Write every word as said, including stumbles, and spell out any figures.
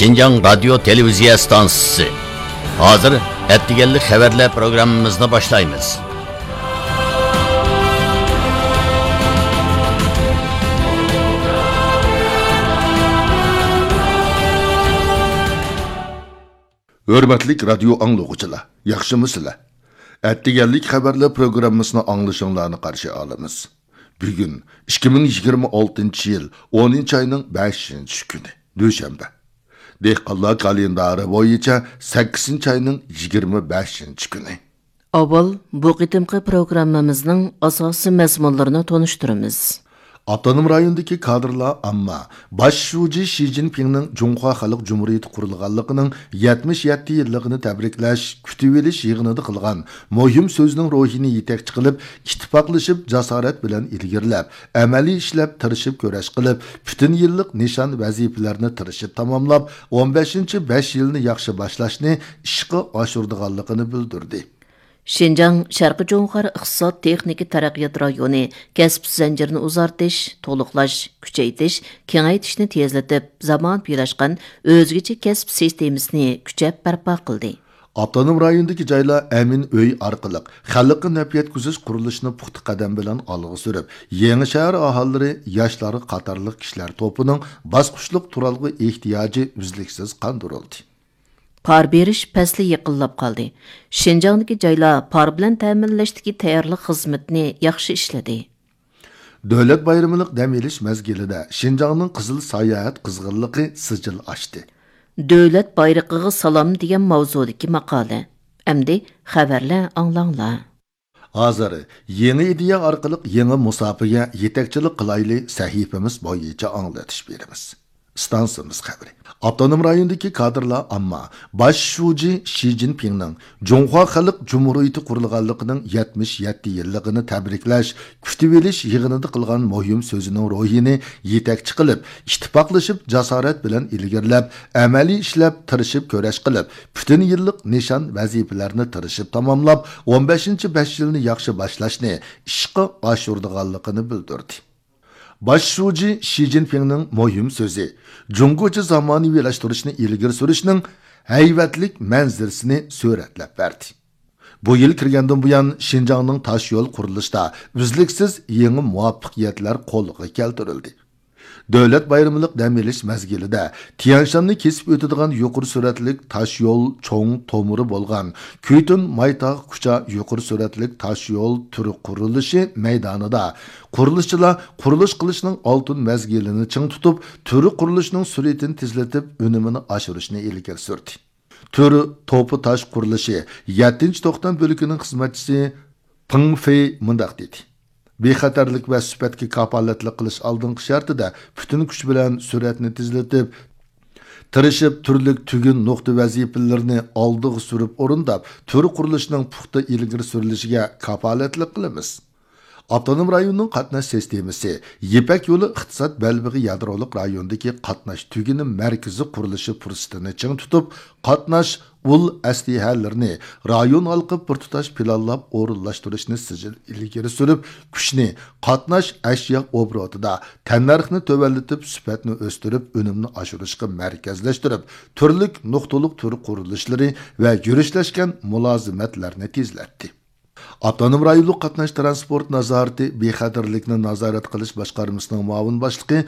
شىنجاڭ رادىيو تېلېۋىزىيە ئىستانسىسى. ھازىر ئەتىگەنلىك خەۋەرلەر پروگراممىمىزنى باشلايمىز. ھۆرمەتلىك رادىيو ئاڭلىغۇچىلار، ياخشىمۇسىلەر؟ ئەتىگەنلىك خەۋەرلەر پروگراممىسىنى ئاڭلىشىڭلارنى قارشى ئالىمىز. بۈگۈن ئىككى مىڭ يىگىرمە ئالتىنچى يىل ئونىنچى ئاينىڭ بەشىنچى كۈنى، دۈشەنبە. دېھقانلار كالېندارى بويىچە سەككىزىنچى ئاينىڭ يىگىرمە بەشىنچى كۈنى. ئاۋۋال بۇ قېتىمقى پروگراممىمىزنىڭ ئاساسىي مەزمۇنلىرىنى تونۇشتۇرىمىز. ئاپتونوم رايوندىكى كادىرلار ئامما باش شۇجى شى جىنپىڭنىڭ جۇڭخۇا خەلق جۇمھۇرىيىتى قۇرۇلغانلىقىنىڭ يەتمىش يەتتە يىللىقىنى تەبرىكلەش، كۈتۈۋېلىش يىغىنىدا قىلغان مۇھىم سۆزىنىڭ روھىنى يېتەكچى قىلىپ، ئىتتىپاقلىشىپ، جاسارەت بىلەن ئىلگىرىلەپ، ئەمەلىي ئىشلەپ، تىرىشىپ كۈرەش قىلىپ، پۈتۈن يىللىق نىشان ۋەزىپىلەرنى تىرىشىپ تاماملاپ، ئون بەشىنچى بەش يىلنى ياخشى باشلاشنى ئىشقا ئاشۇرىدىغانلىقىنى بىلدۈردى. شىنجاڭ شەرقىي جۇڭخۇا ئىقتىساد تېخنىكا تەرەققىيات رايونى كەسىپ زەنجىرىنى ئۇزارتىش، تولۇقلاش، كۈچەيتىش، كېڭەيتىشنى تېزلىتىپ، زامانىۋىلاشقان ئۆزگىچە كەسىپ سىستېمىسىنى كۈچەپ بەرپا قىلدى. ئاپتونوم رايوندىكى جايلار ئەمىن ئۆي ئارقىلىق خەلققە نەپ يەتكۈزۈش قۇرۇلۇشىنى پۇختا قەدەم بىلەن ئالغا سۈرۈپ، يېڭى شەھەر ئاھالىلىرى، ياشلار قاتارلىق كىشىلەر توپىنىڭ باسقۇچلۇق تۇرالغۇ ئېھتىياجى ئۈزلۈكسىز قاندۇرۇلدى. پار بېرىش پەسلى يېقىنلاپ قالدى. شىنجاڭدىكى جايلار پار بىلەن تەمىنلەشتىكى تەييارلىق خىزمىتىنى ياخشى ئىشلىدى. دۆلەت بايرىملىق دەم ئېلىش مەزگىلىدە شىنجاڭنىڭ قىزىل ساياھەت قىزغىنلىقى سىجىل ئاشتى. دۆلەت بايرىقىغا سالام دېگەن ماۋزۇدىكى ماقالە. ئەمدى خەۋەرلەر ئاڭلاڭلار. ھازىر يېڭى ئىدىيە ئارقىلىق يېڭى مۇساپىگە يېتەكچىلىك قىلايلى سەھىپىمىز بويىچە ئاڭلىتىش بېرىمىز. ئىستانسىمىز خەۋىرى. ئاپتونوم رايوندىكى كادىرلار ئامما باش شۇجى شى جىنپىڭنىڭ جۇڭخۇا خەلق جۇمھۇرىيىتى قۇرۇلغانلىقىنىڭ يەتمىش يەتتە يىللىقىنى تەبرىكلەش، كۈتۈۋېلىش يىغىنىدا قىلغان مۇھىم سۆزىنىڭ روھىنى يېتەكچى قىلىپ، ئىتتىپاقلىشىپ، جاسارەت بىلەن ئىلگىرىلەپ، ئەمەلىي ئىشلەپ، تىرىشىپ كۈرەش قىلىپ، پۈتۈن يىللىق نىشان ۋەزىپىلەرنى تىرىشىپ تاماملاپ، ئون بەشىنچى بەش يىلنى ياخشى باشلاشنى ئىشقا ئاشۇرىدىغانلىقىنى بىلدۈردى. باش شۇجى شى جىنپىڭنىڭ مۇھىم سۆزى جۇڭگوچە زامانىۋىلاشتۇرۇشنى ئىلگىرى سۈرۈشنىڭ ھەيۋەتلىك مەنزىرىسىنى سۈرەتلەپ بەردى. بۇ يىل كىرگەندىن بۇيان، شىنجاڭنىڭ تاش يول قۇرۇلۇشىدا ئۈزلۈكسىز يېڭى مۇۋەپپەقىيەتلەر قولغا كەلتۈرۈلدى. دۆلەت بايرىملىق دەم ئېلىش مەزگىلىدە تيەنشاننى كېسىپ ئۆتىدىغان يۇقىرى سۈرئەتلىك تاش يول چوڭ تومۇرى بولغان كۈيتۈن مايتاغ كۇچا يۇقىرى سۈرئەتلىك تاش يول تۈر قۇرۇلۇشى مەيدانىدا قۇرۇلۇشچىلار قۇرۇلۇش قىلىشنىڭ ئالتۇن مەزگىلىنى چىڭ تۇتۇپ، تۈر قۇرۇلۇشىنىڭ سۈرئىتىنى تېزلىتىپ، ئۈنۈمىنى ئاشۇرۇشنى ئىلگىرى سۈردى. تۈر توپا تاش قۇرۇلۇشى يەتتىنچى توختام بۆلىكىنىڭ خىزمەتچىسى پېڭ فېي مۇنداق دېدى: بىخەتەرلىك ۋە سۈپەتكە كاپالەتلىك قىلىش ئالدىنقى شەرتىدە پۈتۈن كۈچ بىلەن سۈرئەتنى تېزلىتىپ، تىرىشىپ، تۈرلۈك تۈگۈن نۇقتا ۋەزىپىلىرىنى ئالدىغا سۈرۈپ ئورۇنداپ، تۈر قۇرۇلۇشىنىڭ پۇختا ئىلگىرى سۈرۈلۈشىگە كاپالەتلىك قىلىمىز. ئاپتونوم رايوننىڭ قاتناش سىستېمىسى يىپەك يولى ئىقتىساد بەلبېغى يادرولۇق رايونىدىكى قاتناش تۈگۈنى مەركىزى قۇرۇلۇشى پۇرسىتىنى چىڭ تۇتۇپ، قاتناش ئۇل ئەسلىھەلىرىنى رايون ھالقىپ بىر تۇتاش پىلانلاپ ئورۇنلاشتۇرۇشنى سىجىل ئىلگىرى سۈرۈپ، كۈچنى قاتناش ئەشيا ئوبوروتىدا تەننەرخنى تۆۋەنلىتىپ، سۈپەتنى ئۆستۈرۈپ، ئۈنۈمنى ئاشۇرۇشقا مەركەزلەشتۈرۈپ، تۈرلۈك نۇقتىلىق تۈر قۇرۇلۇشلىرى ۋە يۈرۈشلەشكەن مۇلازىمەتلەرنى تېزلەتتى. ئاپتونوم رايونلۇق قاتناش تىرانسپورت نازارىتى بىخەتەرلىكنى نازارەت قىلىش باشقارمىسىنىڭ مۇئاۋىن باشلىقى